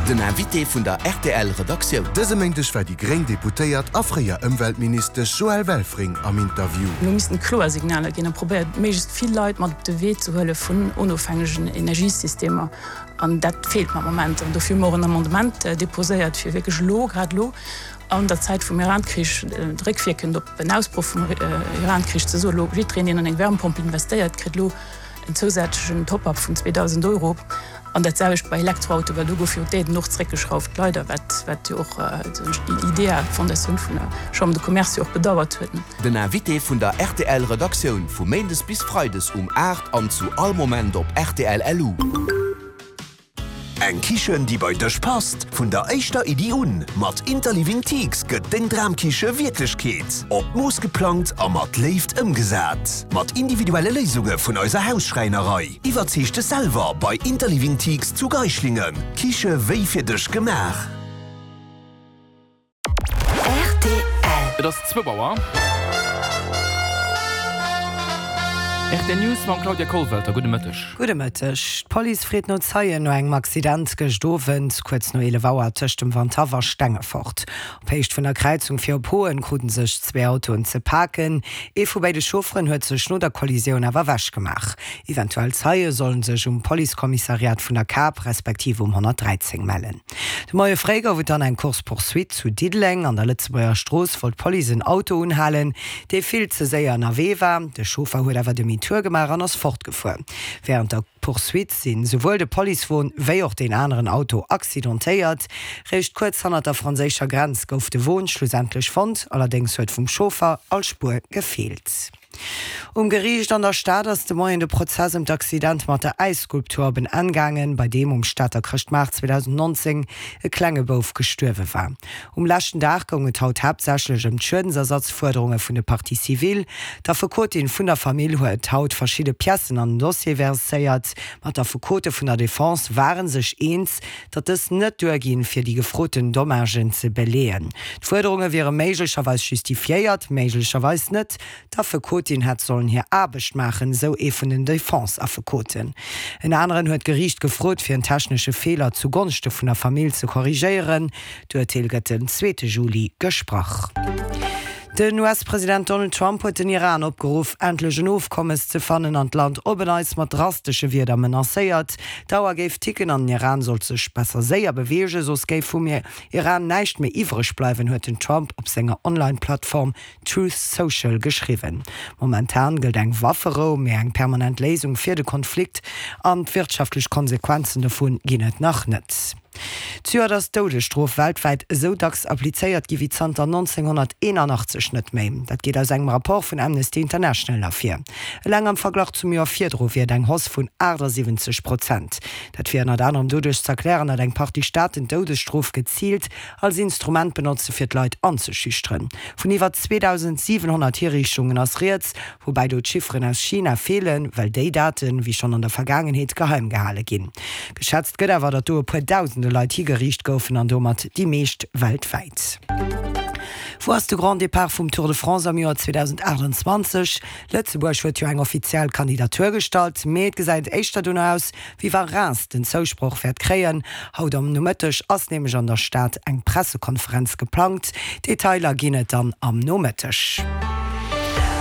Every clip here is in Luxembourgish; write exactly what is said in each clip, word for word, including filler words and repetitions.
Den Invité vun der R T L Redaktioun. Dëse Méindeg war déi gréng Deputéiert a fréier Ëmweltministesch Joëlle Welfring am Interview. Mir missten kloer Signaler ginn a probéiert méiglechst vill Leit mat op de Wee ze huele vun onofhängegen Energiesystemer an dat feelt am Moment an dofir hu mer och en Amendement deposéiert fir wierklech elo, grad elo an der Zäit vum Iran-Krich, réckwierkend op en Ausbroch vum Iran-Krich ze soen, elo jiddwereen deen an eng Wärmepompel investéiert, kritt elo en zousätzlechen Top-up vun zweedausend Euro. An dat selwecht bei Elektroautoen, well do gouf jo d'Aiden och zeréckgeschrauft, leider, wat wat jo och déi IDEA, d'Fondatioun vun der Chambre de Commerce jo och bedauert huet. Den Invité vun der R T L Redaktioun vu méindes bis freides um aacht an zu all Moment op R T L L U. Eng Kichen, déi bei dech passt, vun der éischter Iddi un. Mat Interliving Teaks gëtt deng Dramkiche Wierklechkeet. Op d'Mooss geplangt a mat Léift ëmgesat. Mat individuelle Léisunge vun eiser Hausschräinerei. Iwwerzeeg dech selwer bei Interliving Teaks zu Geislingen. Kiche wéi fir dech gemaach. R T L. Et ass zwou Auer. R T L News mam Claudia Kollwelter. Gudde Mëtteg. Gudde Mëtteg. D'Police freet no Zeien no engem Accident gëscht Owend kuerz no eelef Auer tëscht dem Wandhaff a Stengefort. Op Héicht vun der Kräizung fir op Hoen krute sech zwee Autoen ze paken. Ee vu béide Chaufferen huet sech no der Kollisioun awer ewechgemaach. Eventuell Zeie sollen sech um Policekommissariat vun der Kap respektiv um honnertdräizéng mellen. De Moie fréi gouf et dann eng Course-poursuite zu Diddeleng. An der Lëtzebuerger Strooss wollt d'Police en Auto unhalen, dee vill ze séier ënnerwee war. De Chauffer huet awer Demi-tour gemaach an ass fortgefuer. Wärend der Poursuite sinn souwuel de Policewon wéi och deen aneren Auto accidentéiert. Réischt kuerz hannert der franséischer Grenz gouf de Won schlussendlech fonnt, allerdéngs huet vum Chauffer all Spuer gefeelt. Um Geriicht an der Stad ass de Moien de Prozess ëm d'Accident mat der Äisskulptur op en Enn gaangen, bei deem um Stater Chrëschtmaart zweedausendnonzéng e klenge Bouf gestuerwe war. Um leschten Dag goung et haut haaptsächlech ëm d'Schuedensersatzfuerderunge vun de Parties civiles. D'Affekotin vun der Famill huet haut verschidde Piècen an den Dossier verséiert. Ma d'Affekote vun der Defense ware sech eens, datt dës net duerginn, fir déi gefroten Dommagen ze beleeën. D'Fuerderunge wiere méiglecherweis justifiéiert, méiglecherweis net. D'Affekotin hätt sollen hir Aarbecht maachen, sou ee vun den Defense-Affekoten. En aneren huet d'Geriicht gefrot, fir en technesche Feeler zu Gonschte vun der Famill ze korrigéieren. D'Urteel gëtt den zweete Juli gesprach. Den U S-President Donald Trump huet den Iran opgeruff, endlech en Ofkommes ze fannen an d'Land op en Neits mat drastesche Wierder menacéiert. D'Auer géif ticken an den Iran sollt sech besser séier beweegen, soss géif vum Iran näischt méi iwwreg bleiwen, huet den Trump op senger Online-Plattform Truth Social geschriwwen. Momentan gëllt eng Wafferou, mee eng permanent Léisung fir de Konflikt an d'wirtschaftlech Konsequenzen dovun ginn et nach net. Zejoert ass d'Doudesstrof weltwäit esou dacks applizéiert gi wéi zanter nonzénghonnerteenanachtzeg net méi. Dat geet aus engem Rapport vun Amnesty International ervir. Eleng am Verglach zum Joer virdru wier et eng Hausse vun aachtasiwwenzeg Prozent. Dat wier ënnert anerem doduerch z'erklären, datt eng Partie Staaten d'Doudesstrof geziilt als Instrument benotze fir d'Leit anzeschüchteren. Vun iwwer zweedausendsiwenhonnert Hiriichtungen ass rieds, woubäi do d'Chifferen aus China feelen, well déi Daten, wéi schonn an der Vergaangenheet, geheim gehale ginn. Geschätzt gëtt awer, datt do e puer dausende Leit higeriicht goufen an domat déi meescht weltwäit. Wou ass de Grand Départ vum Tour de France am Joer zweedausendaachtenzwanzeg? Lëtzebuerg huet jo eng offiziell Kandidatur gestallt, mee et gesäit éischter dono aus, wéi wa Reims den Zousproch wäert kréien. Haut am Nomëtteg ass nämlech an der Stad eng Pressekonferenz geplangt. Detailer ginn et dann am Nomëtteg.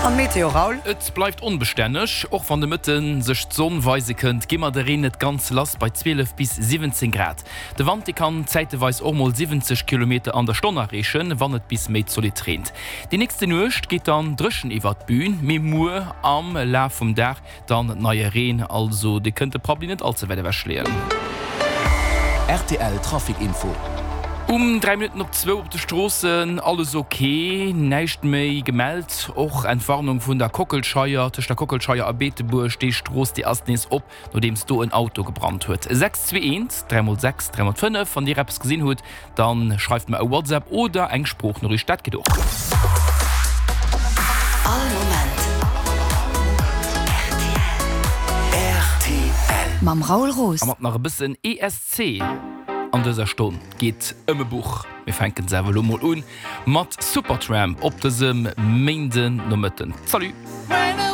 An d'Meteo, Raoul? Et bleift onbestänneg, och wann de Mëtte sech d'Sonn weise kënnt, gi mer de Reen net ganz lass bei zwielef bis siwwenzéng Grad. De Wand, dee kann zäiteweis och mol siwwenzeg Kilometer an der Stonn erreechen, wann et bis méi zolidd reent. Déi nächste Nuecht geet dann dréchen iwwert d'Bün, mee muer am Laf vum Dag dann neie Reen, also dir kënnt de Prabbeli net all ze wäit ewech leeën. R T L Trafic Info. Um dräi Minutten op zwou op de Stroossen alles ok, näischt méi gemellt. Och Entwarnung vun der Kockelscheier, tëscht der Kockelscheier a Beetebuerg, déi Strooss déi ass nees op, nodeems do en Auto gebrannt huet. sechs zwee eent dräi mol sechs dräi mol fënnef, wann dir eppes gesinn hutt, dann schreift mer e WhatsApp oder eng Sproochnoriicht, dat geet och. All Moment R T L. Mam Raoul Roos. A mat nach e bëssen E S C an dëser Stonn geet ëm e Buch. Mir fänken se awer elo mol un mat Supertramp op dësem Méinden Nomëtten. Salut!